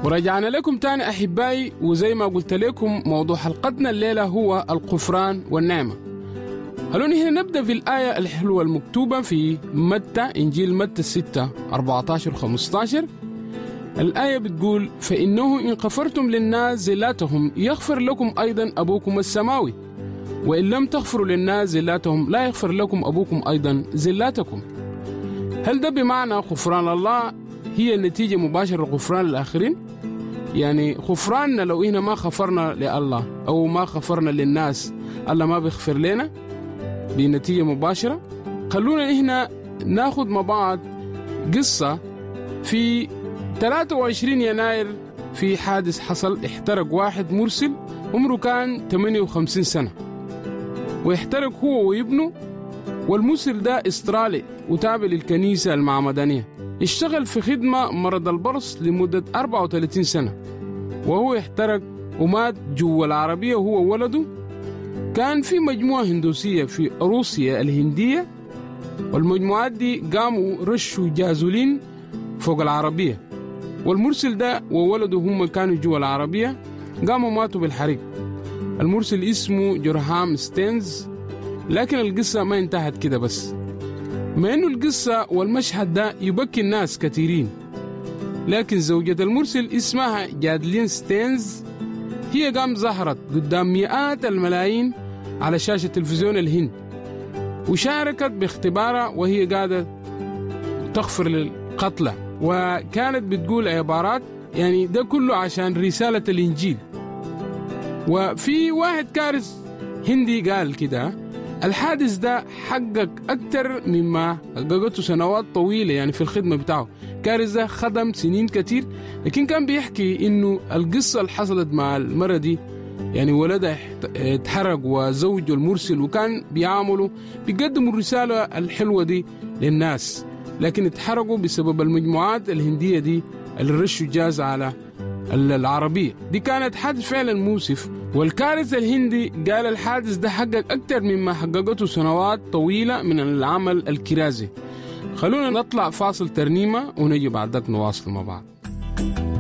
ورجعنا لكم تاني أحبائي، وزي ما قلت لكم موضوع حلقتنا الليلة هو الغفران والنعمة. خلونا هنا نبدأ في الآية الحلوة المكتوبة في متى، إنجيل متى 6:14-15. الآية بتقول: فإنه إن غفرتم للناس زلاتهم يغفر لكم أيضا أبوكم السماوي، وإن لم تغفروا للناس زلاتهم لا يغفر لكم أبوكم أيضا زلاتكم. هل ده بمعنى غفران الله هي نتيجة مباشرة لغفران الآخرين؟ يعني غفراننا لو إحنا ما غفرنا لله أو ما غفرنا للناس، الله ما بيغفر لنا بنتيجة مباشرة؟ خلونا إحنا ناخد مع بعض قصة. في 23 يناير في حادث حصل، احترق واحد مرسل عمره كان 58 سنة، واحترق هو وابنه. والمرسل ده استرالي وتابع للكنيسة المعمدانية، اشتغل في خدمة مرض البرص لمدة 34 سنة، وهو احترق ومات جوا العربية وهو وولده. كان في مجموعة هندوسية في روسيا الهندية، والمجموعات دي قاموا رشوا جازولين فوق العربية، والمرسل ده وولده هم كانوا جوا العربية، قاموا ماتوا بالحريق. المرسل اسمه جرهام ستينز. لكن القصة ما انتهت كده بس، مع انه القصة والمشهد ده يبكي الناس كثيرين، لكن زوجة المرسل اسمها جادلين ستينز هي قام ظهرت قدام مئات الملايين على شاشة تلفزيون الهند، وشاركت باختبارها وهي قاعدة تغفر للقتلى، وكانت بتقول عبارات يعني ده كله عشان رسالة الإنجيل. وفي واحد كارث هندي قال كده: الحادث ده حقق أكتر مما حققته سنوات طويلة يعني في الخدمة بتاعه. كارث ده خدم سنين كتير، لكن كان بيحكي إنه القصة اللي حصلت مع المرة دي، يعني ولدها اتحرق وزوجه المرسل، وكان بيعملوا بيقدموا الرسالة الحلوة دي للناس، لكن اتحرقوا بسبب المجموعات الهندية دي اللي رشوا جاز على العربية دي. كانت حادث فعلا مؤسف. والكارثة الهندي قال الحادث ده حقق أكتر مما حققته سنوات طويلة من العمل الكرازي. خلونا نطلع فاصل ترنيمة ونجي بعدك نواصل مع بعض.